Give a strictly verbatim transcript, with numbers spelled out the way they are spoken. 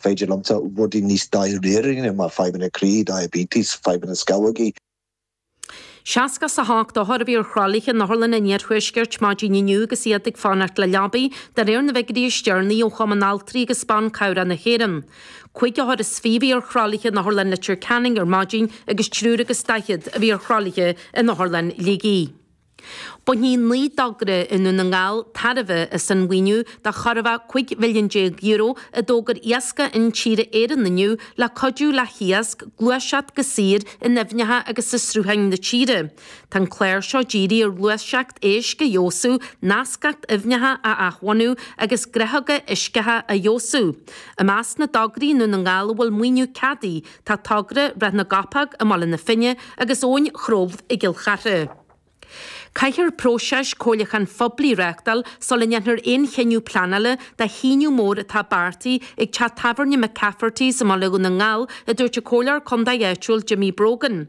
Féidir liomsa rudaí níos dáiríre mar fadhbanna croí, diabetes, fadhbanna scamhógaí. Seasca is a hocht othar a bhí ar thralaithe in Otharlann an Iarthuaiscirt maidin inniu agus iad ag fanacht le leabaí, de réir na bhfigiúirí is deireanaí ó Chumann Altraí agus Ban Cabhrach na hÉireann. Cúig othar is fiche a bhí ar thralaithe in Otharlann Leitir Ceanainn ar maidin agus triúr agus daichead a bhí ar thralaithe in Otharlann Shligigh. Bainfidh naoi dtogra i nDún na nGall tairbhe as an mhaoiniú de chorrmhaith cúig mhilliún déag euro a d'fhógair Iascaigh Intíre Éireann inniu le cuidiú le hiasc gluaiseacht go saor in aibhneacha agus i srutháin na tíre. Tá an clár seo dírithe ar ghluaiseacht éisc a fheabhsú, nascacht aibhneacha a athbhunú agus gnáthóga uisceacha a fheabhsú. I measc na dtograí i nDún na nGall a bhfuil maoiniú ceadaithe tá togra Ráth na gCopóg i mBaile na Finne agus Abhainn Chrobh i gCill Chartha. Caithfear próiseas comhairliúcháin phoiblí a reáchtáil sula ndéanfar aon chinneadh pleanála do shíneadh mór atá beartaithe ag teach tábhairne McCafferty's i mBaile Dhún na nGall, a dúirt an Comhairleoir Contae áitiúil Jimmy Brogan.